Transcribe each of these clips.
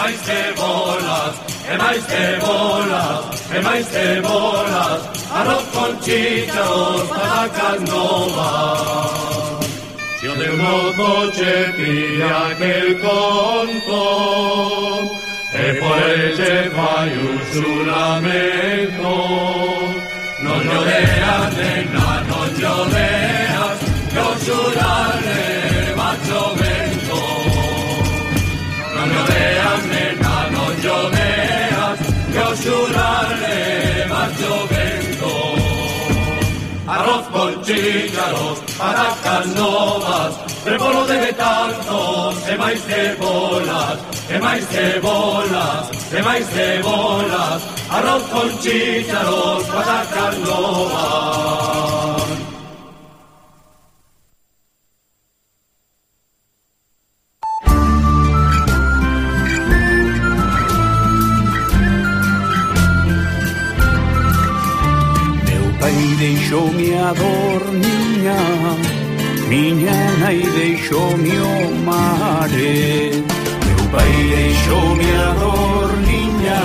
máis cebolas, e máis cebolas, e máis cebolas, arroz con chícharos, patacas novas. Si o teu mozo che pilla aquel conto, e por el che fai un xuramento, non lloreas, nena, non lloreas, que o xurare macho vento. Non lloreas, nena, non lloreas, que o xurare macho vento. Arroz con chícharos, patacas novas, repolo de tantos, e máis cebolas, e máis cebolas, e máis cebolas, arroz con chícharos, patacas novas. Deixoume a dor, miña nai deixoume o mare. Meu pai deixoume a dor, miña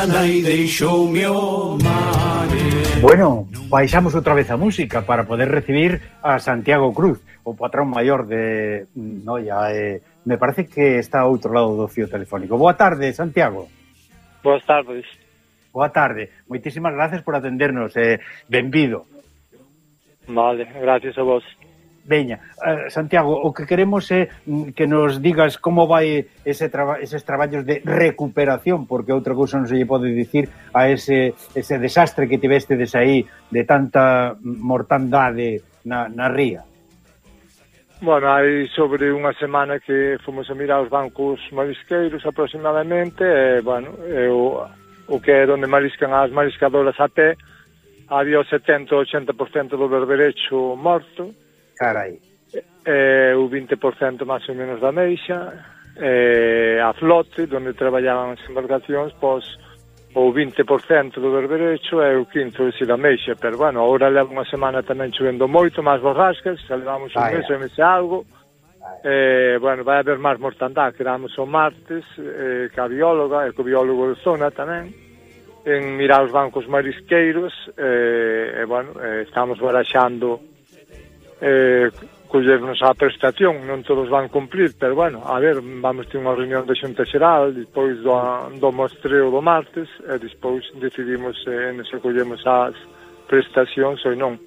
nai deixoume o mare. Bueno, baixamos outra vez a música para poder recibir a Santiago Cruz, o patrón maior de Noia. Me parece que está ao outro lado do fío telefónico. Boa tarde, Santiago. Boas tardes. Boa tarde, moitísimas gracias por atendernos, benvido. Vale, gracias a vos. Veña, Santiago, o que queremos é que nos digas como vai eses traballos de recuperación, porque outra cousa non se lle pode dicir a ese desastre que tivestedes aí de tanta mortandade na ría. Bueno, hai sobre unha semana que fomos a mirar os bancos marisqueiros aproximadamente, o que é onde mariscan as mariscadoras a pé, había o 70-80% do berberecho morto. Carai. O 20% máis ou menos da meixa, a flote, onde traballaban as embarcacións, pois o 20% do berberecho e o 15% da meixa, pero bueno, agora leva unha semana tamén chovendo moito, máis borrascas, xa levamos un mes e algo. Bueno, vai haber máis mortandad. Quedamos o martes ca bióloga e co biólogo de zona tamén en mirar os bancos marisqueiros estamos baraxando collernos a prestación. Non todos van cumplir, pero bueno, a ver, vamos ter unha reunión de Xunta Xeral despois do mostreo do martes e despois decidimos se collemos as prestacións ou non.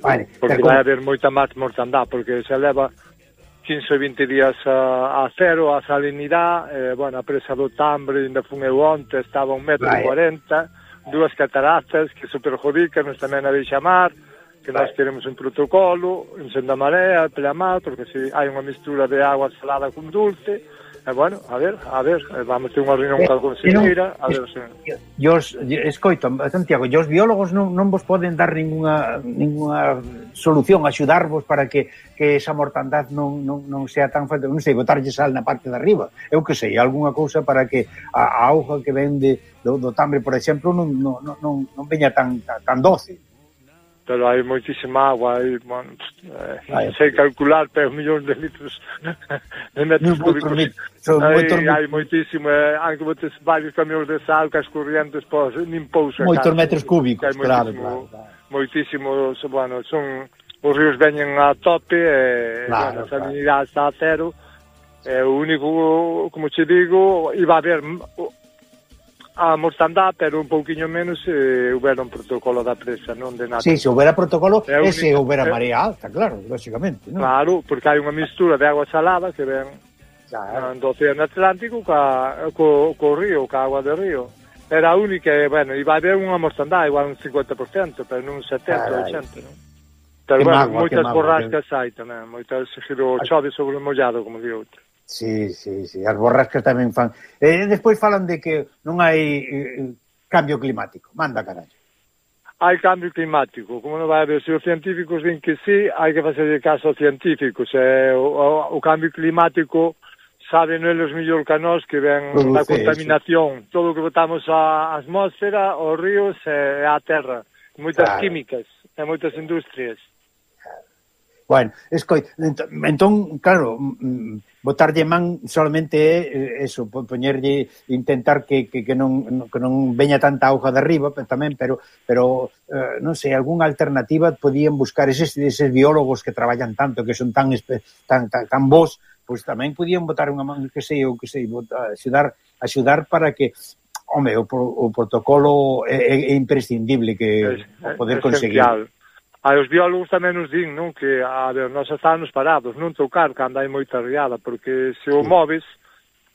Vale, porque vai haber moita máis mortandad, porque se leva 15 ou 20 días a cero, a salinidade, a presa do Tambre, ainda fun eu onte, estaba 1,40 m, dúas cataratas que se perjudican, nos tamén a deixa mar, que nós queremos un protocolo, encendo a marea, pelamar, porque se hai unha mistura de agua salada con dulce, a ver, vamos ter unha reunión con a conselleira, a ver se... Escoito, Santiago, os biólogos non vos poden dar ninguna solución, axudarvos para que esa mortandad non sea tan fuerte, non sei, botarlle sal na parte de arriba, eu que sei, algunha cousa para que a auga que vende do Tambre, por exemplo, non veña tan doce. Pero hai moitísima agua, non sei calcular, pero millóns de litros de metros cúbicos. Hai moitísimo, hai que botes varios camións de sal, que as corrientes nin pousa. Moitos metros cúbicos, claro. Moitísimos, son os ríos veñen a tope, a salinidade está a cero, o único, como che digo, iba a haber a mortandad, pero un pouquiño menos houbera un protocolo da presa, non de nada. Sí, se houbera protocolo, se houbera marea alta, claro, lógicamente, non? Claro, porque hai unha mistura de agua salada que ven do Océano Atlántico co río, ca agua do río. Era a única, iba a haber unha mortandad, igual un 50%, pero non un 70-80%, non? Pero moitas borrascas hai tamén, moitas chove sobre o mollado, como di outro. Sí, as borrascas tamén fan. Despois falan de que non hai cambio climático. Manda, carallo. Hai cambio climático. Como non vai haber? Se os científicos din que sí, hai que facer caso aos científicos. O cambio climático saben eles mellor que nós, que ven da contaminación. Todo o que botamos á atmósfera, aos ríos e á terra. Moitas químicas e moitas industrias. Bueno, entón, claro, botarlle man solamente é eso, poñerlle, intentar que non veña tanta auga de arriba tamén, pero non sei, algunha alternativa podían buscar eses biólogos que traballan tanto, que son tan bons, pois tamén podían botar unha man, que sei, axudar para que, home, o protocolo é imprescindible que poder conseguir. Os biólogos tamén nos din, non, que nós estamos parados, non tocar cando hai moita riada, porque se o moves,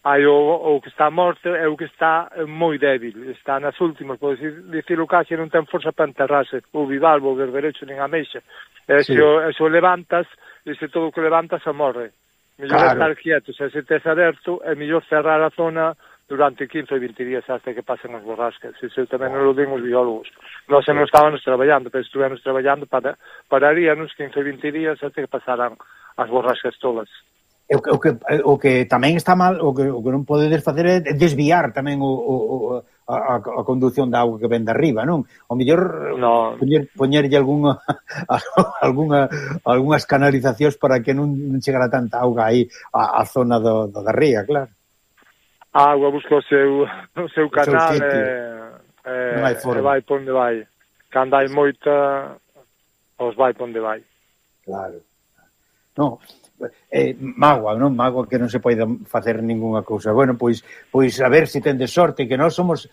hai o que está morto é o que está moi débil, está nas últimas, pode dicir o case, non ten forza para enterrarse, o bivalvo, o berberecho, nin a meixa, se o levantas, e se todo o que levantas se morre. Mellor estar quieto, se tes aberto, é mellor cerrar a zona durante 15 ou 20 días hasta que pasen as borrascas. Isso tamén nos lo din os biólogos. Nós non estábamos traballando, pero estuvemos traballando pararíanos 15 ou 20 días hasta que pasaran as borrascas todas. O que tamén está mal, o que non podedes facer é desviar tamén a condución da auga que ven de arriba, non? O mellor poñerlle algunhas canalizacións para que non chegara tanta auga aí a zona do de ría, claro. A auga busca o seu canal e vai por onde vai. Cando hai moita, os vai por onde vai. Claro. Non, mágoa, non? Mágoa que non se pode facer ningunha cousa. Bueno, pois a ver se tendes sorte, que nós somos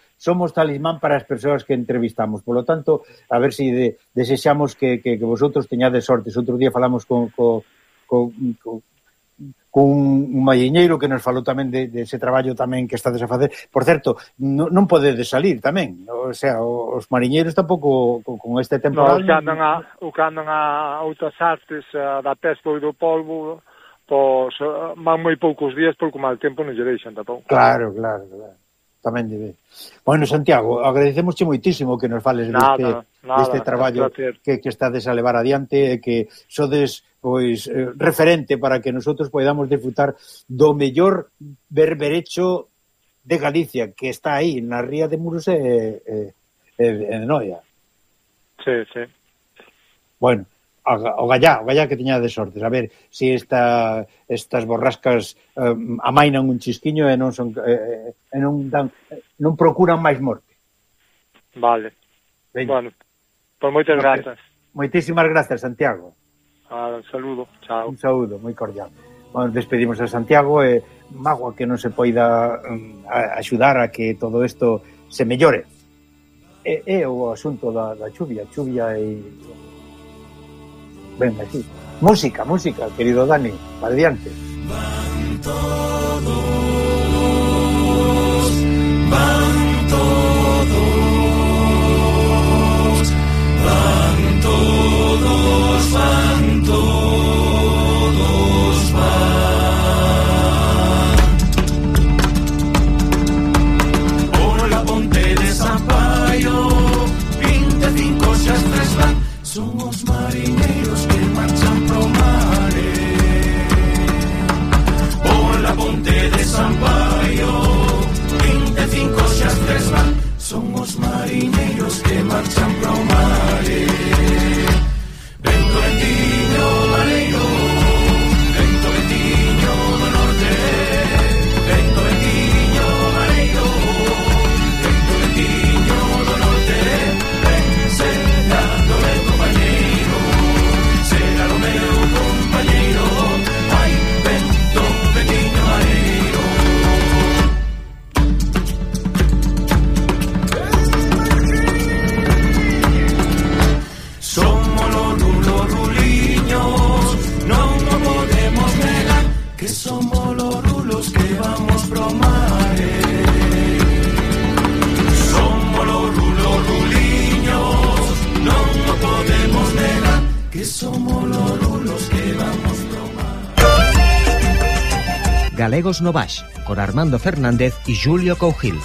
talismán para as persoas que entrevistamos. Por lo tanto, a ver se desexamos que vosotros teñades sorte. Outro día falamos con un malliñeiro que nos falou tamén de ese traballo tamén que estades a facer. Por certo, non podedes salir tamén, o sea, os mariñeiros tampouco con este temporal... O que andan a outras artes da pesca e do polvo, pois van moi poucos días porque o mal tempo non lle deixan tampouco. Claro. Tamén lle ve. Bueno, Santiago, agradecemosche moitísimo que nos fales deste traballo que estades a levar adiante e que sodes pois referente para que nosotros podamos disfrutar do mellor berberecho de Galicia, que está aí na ría de Muros e Noia. Sí. Bueno, o gallá que teña de sortes, a ver se estas borrascas amainan un chisquiño e non procuran máis morte. Vale. Bueno, pues moitas grazas. Moitísimas grazas, Santiago. Un saludo, chao. Un saúdo moi cordial. Bueno, despedimos a Santiago e mágoa que non se poida axudar a que todo isto se mellore. É o asunto da chuvia e... Ben, así. Música, querido Dani, para adiante. Van todos por la ponte de San Paio, 25 xa tres van, son os mariñeiros que marchan pro mare. Por la ponte de San Paio, 25 xa tres van, son os mariñeiros que marchan pro mare. Vento ventiño mareiro, vento ventiño do norte, vento ventiño mareiro, vento ventiño do norte, ven será do meu compañeiro, será do meu compañeiro, ai, vento ventiño mareiro. Somos los ruliños, non o podemos negar, que somos los rulos que vamos pro mare. Somos los ruliños, non o podemos negar, que somos los rulos que vamos pro mare. Galegos no Baix, con Armando Fernández y Julio Cougil.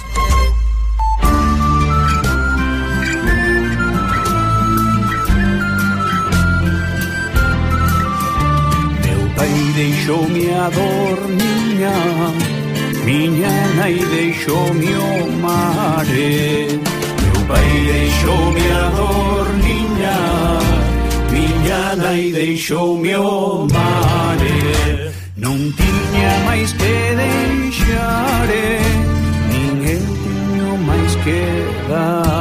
Deixoume a dor, miña nai deixoume o mare. Meu pai deixoume a dor, miña miña nai deixoume o mare. Non tiña máis que deixare, nin eu tiño máis que dar.